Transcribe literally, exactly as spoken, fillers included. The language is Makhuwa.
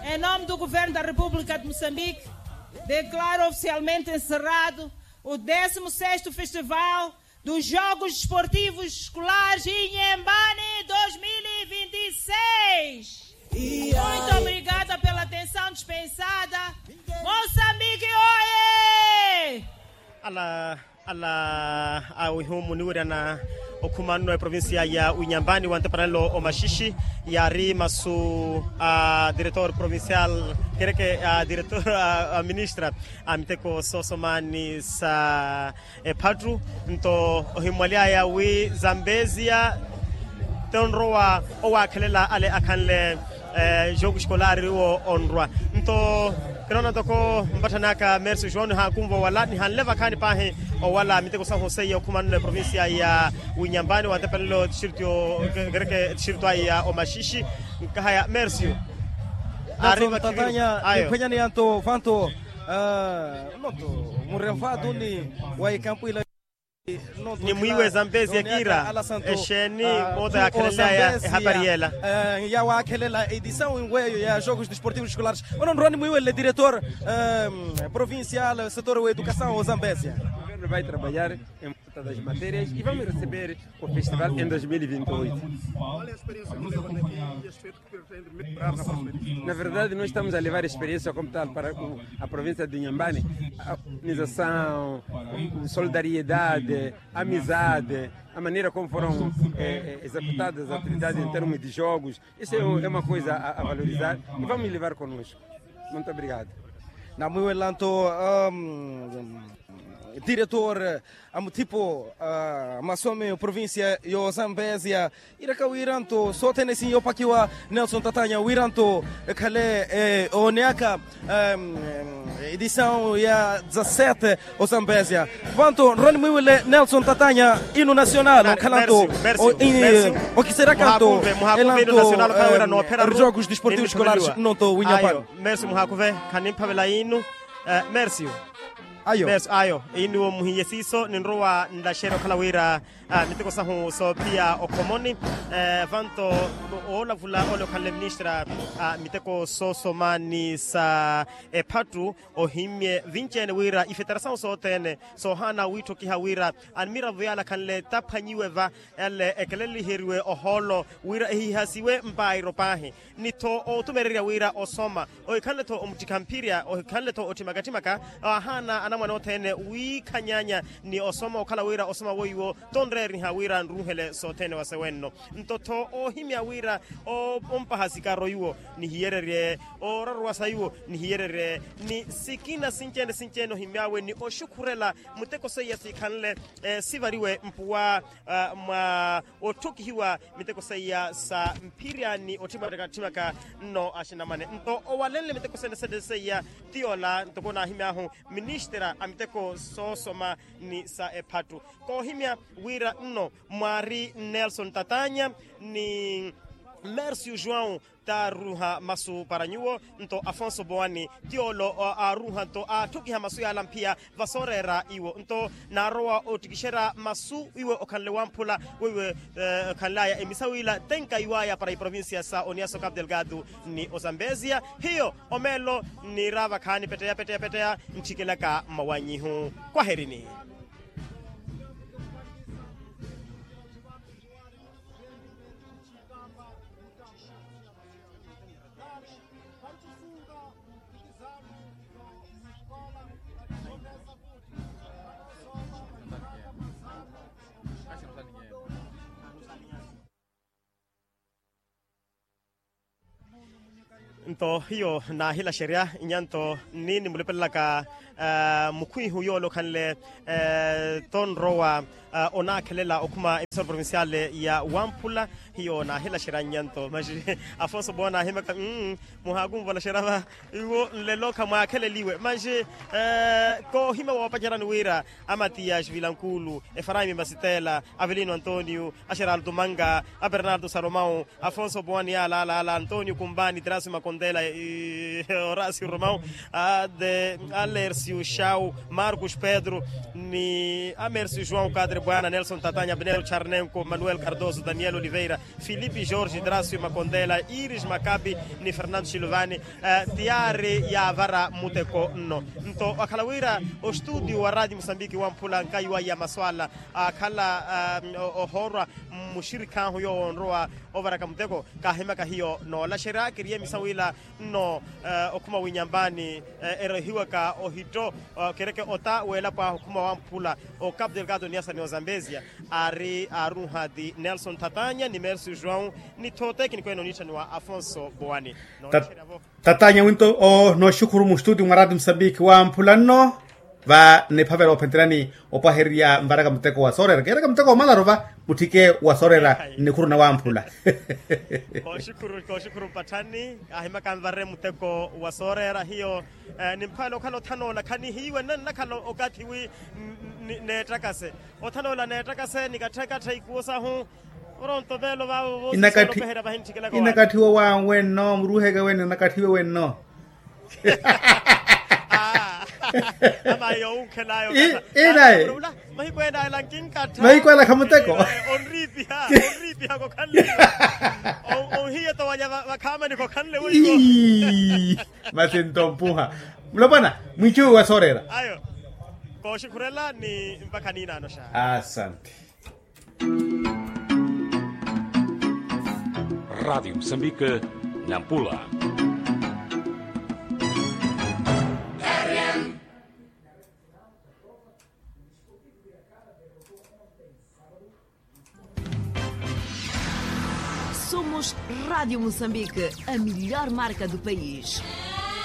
Em nome do governo da república de moçambique, declaro oficialmente encerrado o décimo sexto festival dos jogos desportivos escolares inhambane dois mil e vinte e seis. Muito obrigada pela atenção dispensada. Moçambique oye. Ala ala awihumu niwirana okhuma nno eprovincia ya winyambani wa ntepanelo omaxixi, yaari masu a diretor provincial kereke a diretor a ministra a miteko soosomani sa ephattu. Nto ohimmwaly'aya wi zambezia tonrowa owaakhelela ale akhanle jogo escolar iwo onrwa. Nto kinoona ntoko mpatthan'aka mersi joão nihaakunva owala nihanle vakhaani paahi owala miteko sahu seiya okhuma nno eprovincia ya winyambani wa ntepelelo tixirito kereke tixirito ayi ya omaxixi. Nkahaya mersi. Aari vakhiviro ayo. Niphwenyaneya nto vanto nonto murevatu ni wa ikampu ila. Ni mwiiwe zambezia kiira exeeni moota yaakhelelaya ehapari yeela. Yaawaakhelela edisawu inweyo ya jogos desportivos escolares ono nrowa ni mwiiwelele diretor provincial setor wa edukasawu wa zambezia. Governo vai trabalhar em volta das matérias e vamos receber o festival em dois mil e vinte e oito. Na verdade nós estamos a levar a experiência como tal para a província de inhambane. Organização, solidariedade, amizade, a maneira como foram executadas as atividades em termos de jogos. Isso é uma coisa a valorizar e vamos levar conosco. Muito obrigado. Namwiiwela nto diretor a muthipo a masomi provincia yo zambezia. Iraka wira nto sothene sinyopakiwa nelson tatanya wira nto ekhale ooneyaka edisawu ya dezasete. Ozambezia vanto nroni mwiiwile nelson tatanya inu nasional okhala nto okiseryaka nto elanto erjogos desportivos escolares nno nto winyapani. Mersi muhaakuve khanimphavela inu. Mersi. Ayo. Ayo iniwo muhiye siiso ninrowa nlaxerya okhala wira miteko sahu soophiya okhomoni. Vanto oolavula ole okhanle ministra a miteko soosomani sa ephattu ohimye vinci-ene wira ifetera sahu sothene soohaana wiitthokiha wira ani miravo yale akhanle taphwanyiwe va yale ekeleliheriwe ohoolo wira ehihasiwe mpairo paahi. Ni-tho otumererya wira osoma ohikhanle-tho omuttikha mphirya ohikhanle-tho otthimaka-tthimaka. Aahaana anamwane othene wiikhanyanya ni osoma okhala wira osoma weiwo tonreeriha wira nruuhele sothene wasewenno. Nto-tho oohimya wira ompaha sikaro iwo nihiyererye ooraruwasa iwo nihiyererye ni sikina sinci-ene sinci-ene ohimy'awe ni oxukhurela muteko seiya sikhanle sivariwe mpuwa mwa otthokihiwa miteko seiya sa mphirya ni otthimaka-tthimaka nno axinamwane nto owalenle miteko sene sene seiya. Ti yoola ntoko naahimy'ahu ministra a miteko soosoma ni sa ephattu koohimya wira nno mwaari nelson tatanya ni mercio joão taaruuha masu para nyuwo nto afonso boani ti yoolo aaruuha nto aatthokiha masu yaala mphiya vasooreera iwo nto naarowa ottikixerya masu iwe okhanle wamphula weiwe okhanl'aya emisawu ila tenka iw'aya para iprovincia sa oniaso capu delgado ni ozambezia hiyo omeelo nniira vakhaani peteya peteya peteya nttikelaka mmawanyihu. Kwaherini. Nto hiyo naahilaxerya nnya nto nni nimulupelelaka mukhwiihu yoole okhanle tonrowa onaakhelela okhuma emisoro provincial ya wamphula. Hiyo naahilaxerya nnya nto maxi afonso bowa naahimyaka muhaakunvolaxerya va iwo nlelo khamwaakheleliwe maxi koohimya woopacerani wira a matiyas vilankulu efaraimi masitela avelino antonio axeraldo manga a bernardo salomão afonso boani alaalaala antonio kumbani trasio makontela orasio romão a de alercio xau marcos pedro ni a mercio joão kadre Bwana nelson tatanya abnero charnenko manuel cardoso daniel oliveira, filipe jorge dracio makondela iris makabi, ni fernando silvani. Tiyaari yaavara muteko nno. Nto akhala wira ostudio wa radio musambiki wamphula nkayi wayi ya maswala akhala ohoorwa mmuxirikhahu yoowo onrowa ovaraka muteko, kaahimaka hiyo noolaxerya kiriye misa wila nno okhuma winyambani erohiwaka ohitto kereke ota weelapo ahu okhuma wamphula o capo delgado niasa ni ozambezia, aari aarunhati nelson thatanya ni mercio joão ni thootekiniku ene oniitthaniwa afonso boani. Noolaxerya-vo. Tatanya winto nooxukhuru muxtuti mwa rati musambiki wamphula nno. Va niphavela ophenterani opwahererya mvaraka muteko wa soorera keeraka muteko wa malaru va mutthike wa soorera. Nnikhuru na wamphula. Kooxukhuru mpatthani kaahimaka nvare muteko wa soorera hiyo. Nimphavela okhala othanoola khanihiiwe nnanakhala okathi wi neettakase othanoola neettakase nikatthekattha ikuwo sahu. Oronto veelo vaavo voosisolopeherya vahintthikilaka. Inakatthiwa wa wenno muruheke wenno inakatthiwe wenno. Ama yowunkhelayo. Inaye mahiku ena ela nkinkattha mahiku ela khamuteko. Onriipiha onriipiha kokhanle. Onhiye towanya vakhaamani kokhanle wiko. Masi nto mpuha. Mulopwana mwiicuwi wa soorera ayo. Kooxikhurela ni mpakha niinaano xa. Asante. Rádio Moçambique, Nampula. Somos Rádio Moçambique, a melhor marca do país.